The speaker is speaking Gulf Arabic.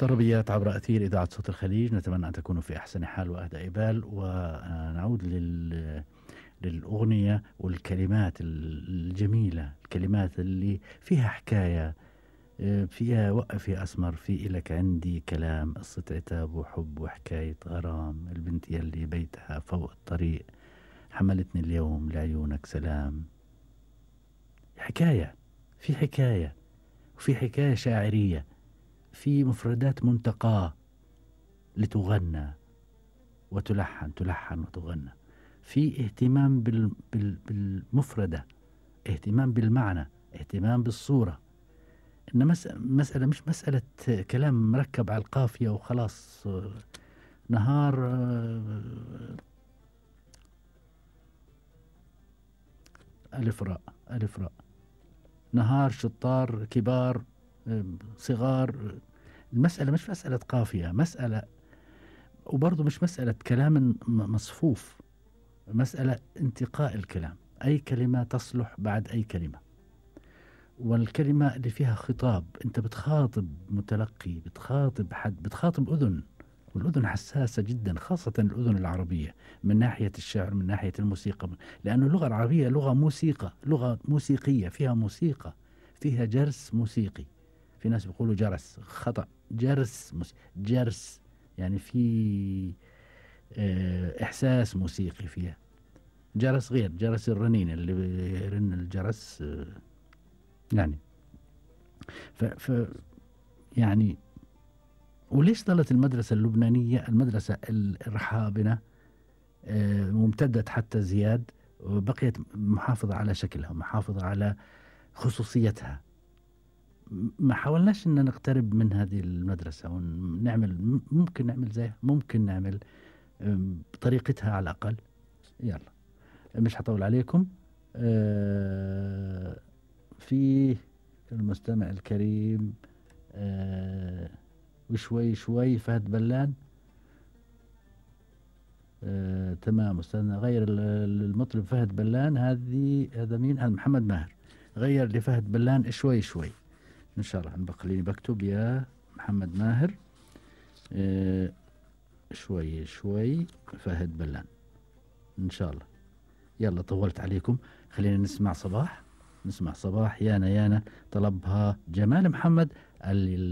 طربيات عبر أثير إذاعة صوت الخليج، نتمنى أن تكونوا في أحسن حال وأهدى بال. ونعود للأغنية والكلمات الجميلة، الكلمات اللي فيها حكاية، فيها وقف يا أسمر في إلك عندي كلام، قصة عتاب وحب وحكاية غرام، البنت يلي بيتها فوق الطريق، حملتني اليوم لعيونك سلام. حكاية، في حكاية، وفي حكاية شاعرية، في مفردات منتقاة لتغنى وتلحن، تلحن وتغنى، في اهتمام بالمفردة، اهتمام بالمعنى، اهتمام بالصورة. إن مسألة مش مسألة كلام مركب على القافية وخلاص. نهار ألف راء، ألف راء، نهار شطار كبار صغار. المسألة مش مسألة قافية، مسألة، وبرضه مش مسألة كلام مصفوف، مسألة انتقاء الكلام، أي كلمة تصلح بعد أي كلمة. والكلمة اللي فيها خطاب، أنت بتخاطب متلقي، بتخاطب حد، بتخاطب أذن، والأذن حساسة جدا، خاصة الأذن العربية من ناحية الشعر، من ناحية الموسيقى، لأن اللغة العربية لغة موسيقى، لغة موسيقية، فيها موسيقى، فيها جرس موسيقي. في ناس بيقولوا جرس، خطأ، جرس جرس يعني في إحساس موسيقي فيها. جرس غير جرس الرنين اللي بيرن الجرس يعني يعني. وليش ظلت المدرسة اللبنانية المدرسة الرحابنة ممتدة حتى زياد، وبقيت محافظة على شكلها، محافظة على خصوصيتها؟ ما حاولناش ان نقترب من هذه المدرسة ونعمل، ممكن نعمل زيها، ممكن نعمل بطريقتها على الأقل. يلا مش هطول عليكم. في المستمع الكريم وشوي شوي فهد بلان. تمام أستاذنا، غير المطرب فهد بلان. هذا مين؟ هذا محمد ماهر. غير لفهد بلان شوي شوي إن شاء الله. خليني بكتب يا محمد ماهر شوي شوي فهد بلان إن شاء الله. يلا طولت عليكم، خلينا نسمع صباح. نسمع صباح يانا يانا، طلبها جمال محمد اللي